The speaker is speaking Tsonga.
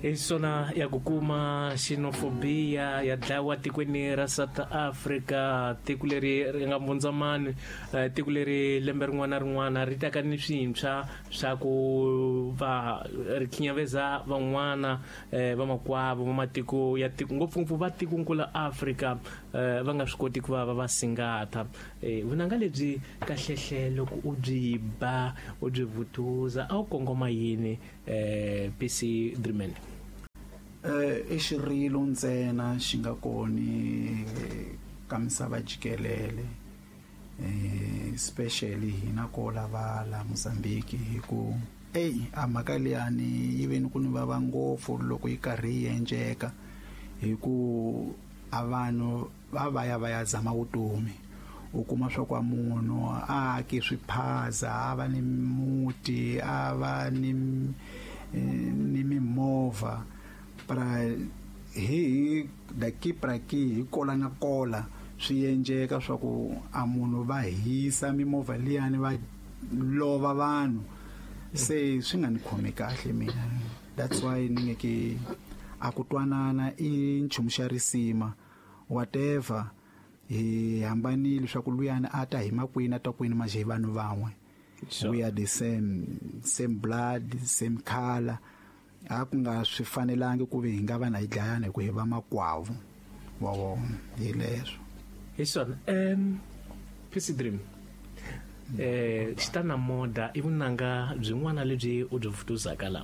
Hi swona ya ku kuma xenophobia ya dlayiwa tikweni ra South Africa, tiko leri ri nga mbundzamani, tiko leri lembe rin'wana na rin'wana ri taka ni swintshwa swa ku va ri khinyaveza van'wana vamakwavo va matiko ya tiko, ngopfungopfu va tikonkulu la Afrika, va nga swi koti ku va va va singatha. Vunanga lebyi kahlehle loko u byi ba u byi vutuza a wu kongoma yini, PC Dreaman? I xirilo ntsena xi nga koni ka misava jikelele, especially hina ko lava la Mozambique, hi ku ey a mhaka liyani yi ve ni ku ni vava ngopfu loko yi karhi yi endleka, hi ku a vanhu va va ya va ya zama vutomi. U kuma swa ku munhu a aki swiphaza, a va ni muti, a va ni mimovha, pra hi daki praki hi kola na kola swi endleka swa ku a munhu va hisa mimovha liyani va lova vanhu. Se swi nga ni khomi kahle mina, that's why ni nge ke a ku twanana i nchumu xa risima, whatever hi hambanile swa ku luyani a ta hi makwini a ta kwini, manje hi vanhu van'we. We are the same blood, same color. A ku nga swi fanelangi ku ve hi nga va na hi dlayana hi ku hi va makwavo wa vona, hi leswo. Hi swona. PC Dream, xitana moda i vunanga byin'wana lebyi u byi vutuzaka la.